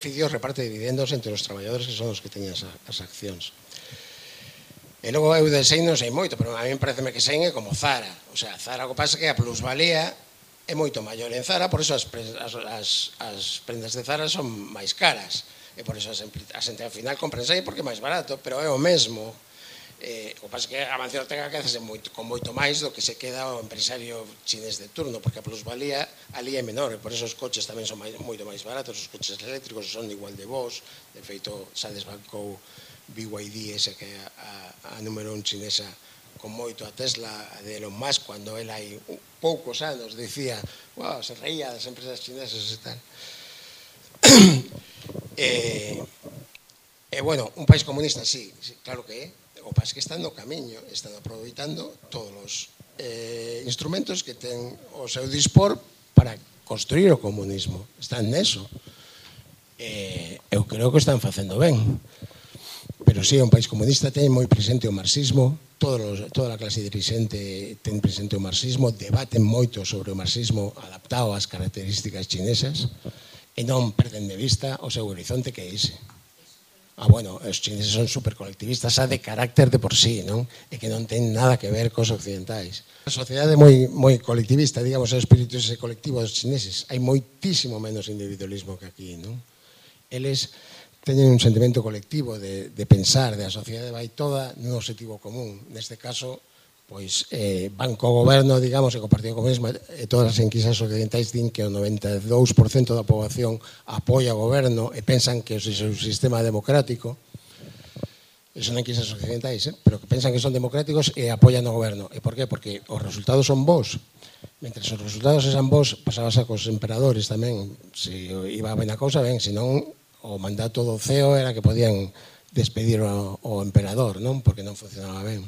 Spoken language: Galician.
beneficios reparte dividendos entre os traballadores que son os que teñen as accións. E logo eu de Sein non sei moito, pero a mí pareceme que Sein é como Zara. O sea, Zara o que pasa é que a plusvalía é moito maior en Zara, por iso as prendas de Zara son máis caras. E por iso a xente ao final compra en Sein porque é máis barato, pero é o mesmo. O que pasa é que a Mancio Ortega quedase con moito máis do que se queda o empresario chinés de turno, porque a plusvalía ali é menor, e por iso os coches tamén son moito máis baratos, os coches eléctricos son igual de bons. De feito, xa desbancou BYD, ese que é a número 1 chinesa con moito, a Tesla de Elon Musk, cando ele hai poucos anos dicía, wow, se reía das empresas chinesas e tal. E bueno, un país comunista, sí, claro que é. O país que están no camiño, están aproveitando todos os instrumentos que ten o seu dispor para construir o comunismo. Están neso. Eu creo que están facendo ben. Pero sí, un país comunista ten moi presente o marxismo, toda a clase dirixente ten presente o marxismo, debaten moito sobre o marxismo adaptado ás características chinesas e non perden de vista o seu horizonte que é ese. Bueno, os chineses son supercolectivistas xa de carácter de por sí, non? E que non ten nada que ver cos occidentais. A sociedade é moi colectivista, digamos, o espírito ese colectivo dos chineses. Hai moitísimo menos individualismo que aquí, non? Eles teñen un sentimento colectivo de pensar, de a sociedade vai toda nun objetivo común. Neste caso, pois, van co goberno, digamos, e co Partido Comunista, e todas as enquisas occidentais din que o 92% da poboación apoia o goberno e pensan que é un sistema democrático. Son enquisas occidentais, pero que pensan que son democráticos e apoian o goberno. E por qué? Porque os resultados son bons. Mentre os resultados eran bons, pasabas cos emperadores tamén. Se iba ben a cousa, ben, senón o mandato do CEO era que podían despedir o emperador, non? Porque non funcionaba ben.